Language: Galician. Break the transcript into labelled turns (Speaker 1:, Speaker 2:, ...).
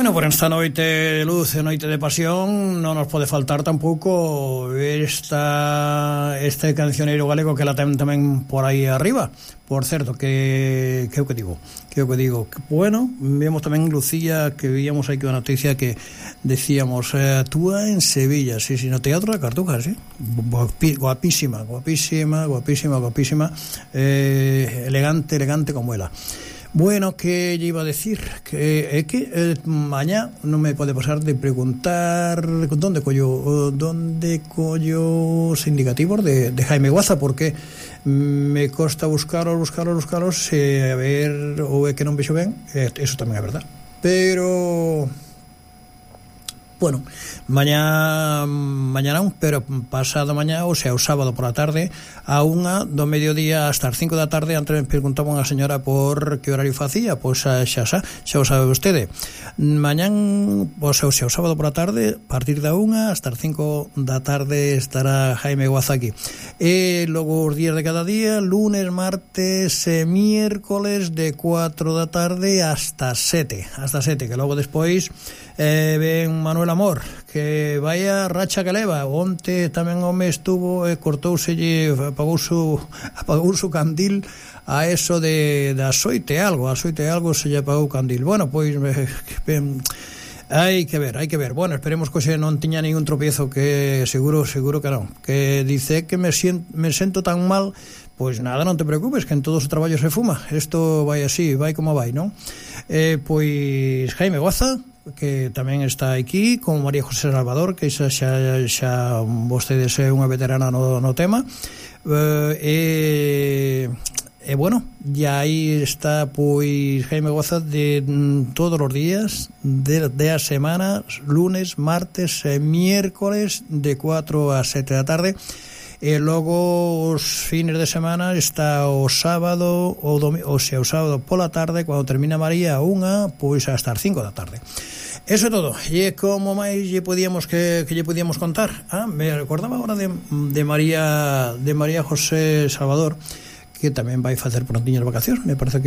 Speaker 1: Bueno, por esta noite de luz e noite de pasión non nos pode faltar tampouco este cancioneiro galego que la ten tamén por aí arriba. Por certo, que o que digo. Bueno, vemos tamén Lucía, que víamos aí que unha noticia que decíamos, actúa en Sevilla, sí, no Teatro da Cartuja, sí. Guapísima. Elegante como ela. Bueno, que lle iba a decir que mañá non me pode pasar de preguntar onde collo os indicativos de Jaime Guaza, porque me costa buscaros a ver, ou é que non vexo ben, eso tamén é verdad, pero bueno, mañá non, pero pasado mañá, o sea, o sábado por a tarde, a 1 do mediodía hasta as 5 da tarde. Antes me preguntaban a señora por que horario facía, pois xa o sabe vostede. Mañán, o sea, o sábado por a tarde, a partir da 1 hasta as 5 da tarde estará Jaime Guaza aquí. E logo os días de cada día, lunes, martes e miércoles de 4 da tarde hasta 7, que logo despois ven Manuel Amor, que vaya racha que leva. Onte tamén o me estuvo e cortouselle, apagou su candil a eso de das 8 e algo se lle apagou o candil. Bueno, pois hai que ver. Bueno, esperemos que non tiña ningún tropiezo, que seguro que non. Que dice que me sento tan mal. Pois nada, non te preocupes, que en todos os traballos se fuma. Isto vai así, vai como vai, non? Pois Jaime Guaza, que tamén está aquí, con María José Salvador, que xa vostedes é unha veterana no tema, e bueno, e aí está pois Jaime Guaza de todos os días de a semana, lunes, martes e miércoles de 4 a 7 da tarde. E logo os fines de semana está o sábado o sábado pola tarde, cando termina María a 1, pois hasta as 5 da tarde. Eso é todo. E como máis lle podíamos que lle podíamos contar? Me recordaba agora de María José Salvador, que tamén vai facer prontiñas vacacións. Me parece que